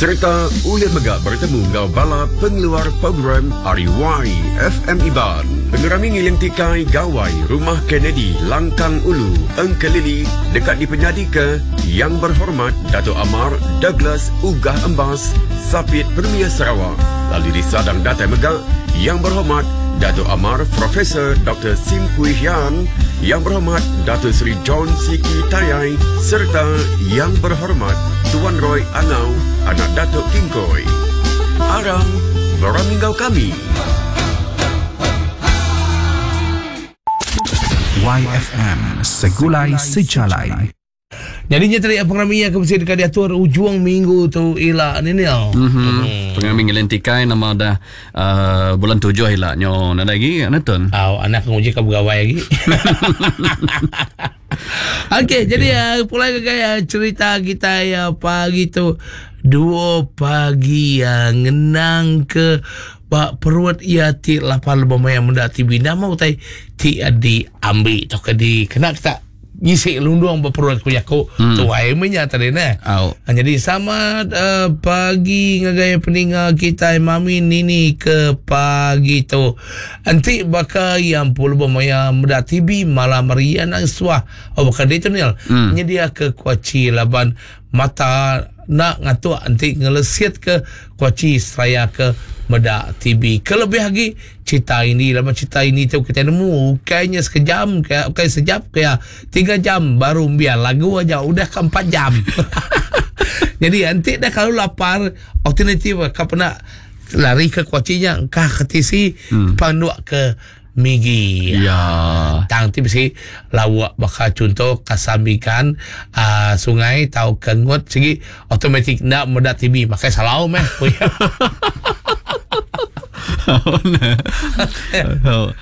Sereta ulih mega beretemu enggau bala pengeluar program ari YFM Iban. Pengerami Ngiling Tikai Gawai Rumah Kennedy Langkang Ulu, Engkelili deka dipenyadika Yang Berhormat Datuk Amar Douglas Uggah Embas, Sapit Premier Sarawak lalu disadang datai mega Yang Berhormat Datuk Amar Profesor Doktor Sim Kui Hian, Yang Berhormat Dato Sri John Siki Tayai sereta Yang Berhormat Tuan Roy Angau anak Datuk Kingkoi. Aram berami enggau kami. YFM Segulai Sejalai. Nyadi nya tadi pengerami iya ke bisi deka diatur ujung minggu tu ila ni Nil. Mm-hmm. Pengerami ngiling tikai nama dah uh, bulan tujuh ila nyo nadai lagi anu tun. Au anak nguji ka begawai lagi. Okey, jadi uh, pulai ke gaya cerita kita ya pagi tu dua pagi uh, ngenang ke ba perut iya ti lapar lebih maya menda TV nama utai ti uh, diambil tau ke di kena kita ngisi lundung ba perut ku jaku hmm. tuai meh nya tadi neh. Au. Ha, jadi selamat uh, pagi ngagai peninga kitai mami nini ke pagi tu. Enti baka yang puluh maya meda TV malam hari anang suah oh baka ditu nil hmm. nyedia ke kuaci laban Mata enda ngatuk enti ngelesit ke kuaci seraya ke meda TV. Kelebih agi cerita ini laban cerita ini tu kitai nemu ukai nya sekejam ke ukai sejap ke iya tiga jam baru biar lagu aja udah ke empat jam. Jadi enti dah kelalu lapar alternatif ka peda lari ke kuaci nya engkah ke tisi hmm. panduk ke Migi. Ya. Tang ti bisi lauk baka chunto kasam ikan uh, sungai tauka ngut sigi automatik enda meda TV makai salau meh ku iya.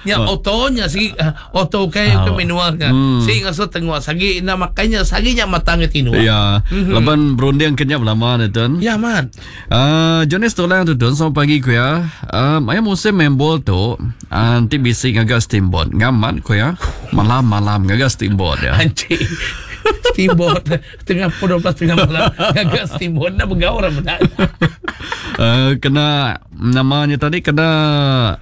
Nya auto nya sigi auto kai ke manual nya. Sigi ngasuh tengok sagi enda makai nya sagi nya mata ngai tinduk. Ya. Laban berunding ke nya belama ne tun. Ya amat. Uh, Jonis tulang tu tun selamat pagi ku ya. Uh, maya musim main bol tu uh, enti bisi ngaga steamboat ngamat ku ya. Malam-malam ngaga steamboat ya. Anci. Steamboat tengah pukul 12 tengah malam ngaga steamboat nak begau orang benar. Uh, kena namanya tadi kena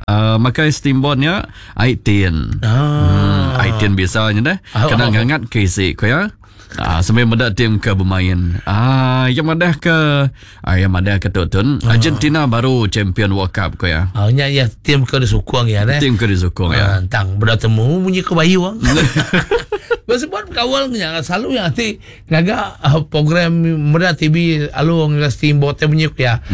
uh, makai steamboat nya ai tin. Ah. Hmm, ai tin biasanya deh. Kena Oh. ngangat ke isi ku ya. Ah, sambil meda tim ke bemain. Ah, yang madah ke ah, yang madah ke tu tun Ah. Argentina baru champion World Cup ko ya. Ah, nya ya tim ke disukung ya ne. Tim ke disukung ya. Ah, tang beda temu munyi ke bayu. Bersebut kawal nya selalu yang ati ngaga ah, program meda TV alu ngaga steamboat te munyi ku ya.